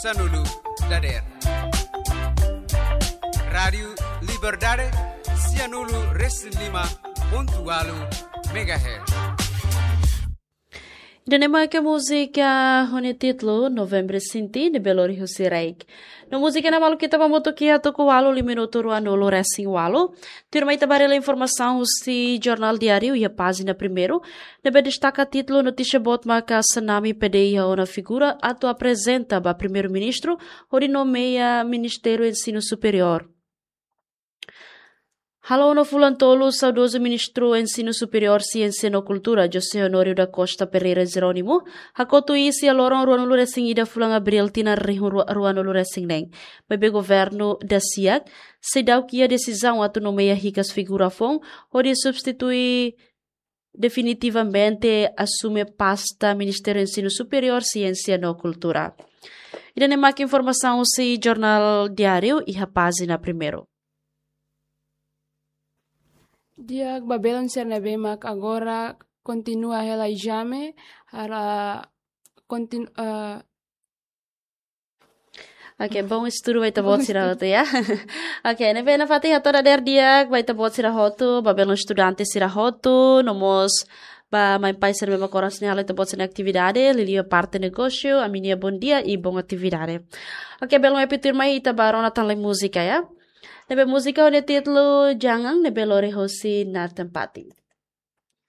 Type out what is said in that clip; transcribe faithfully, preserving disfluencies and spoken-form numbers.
Sanulu dader. Rádiu Liberdade, sianulu resin lima pontu walu megahertz. Ida-ne'e mak múzika ho nia títulu Novembru Sinti, ne'ebé lori husi Reik. No múzika ne'e maluk ita ba mutu ki hatuku walu li minutu ruanulu resin walu. Tuirmai ita ba haree informasaun husi Jornál Diáriu iha pájina primeiru, ne'ebé destaka títulu notísia boot maka Senami P D I iha ona figura atu aprezenta ba Primeiru-Ministru hodi nomeia Ministru Ensinu Superiór. Halo ona fulan tolu, saudozu Ministru Ensinu Superiór, Siénsia no Kultura, José Honório da Costa Pereira Jerónimo, hakotu iis iha loron ruanulu resin ida fulan Abríl tinan rihun rua, ruanulu resin neen. Maibé governu dasiak, seidauk iha desizaun atu nomeia hikas figura foun, hodi substitui definitivamente asume pasta Ministru Ensinu Superiór, Siénsia no Kultura. Ida-ne'e mak informasaun husi Jornál Diáriu iha pájina primeiru. Di'ak, ba belun sira ne'ebé mak agora kontinua hela ezame, hara kontinu, eh, Oke, bom estudu ba ita-boot sira hotu, ya. Oke, ne'ebé nafatin hato'o dadeer di'ak ba ita-boot sira hotu, ba belun estudante sira hotu, no mós ba mãe pai sira ne'ebé mak oras ne'e halo ita-boot sira-nia atividade, liuliu parte negósiu, ami-nia bom dia i bom atividade. Oke, belun, epítur mai ita ba rona tan lai múzika, ya. Ne'ebé múzika ho nia títulu Jangan, ne'ebé lori husi Nathan Pati.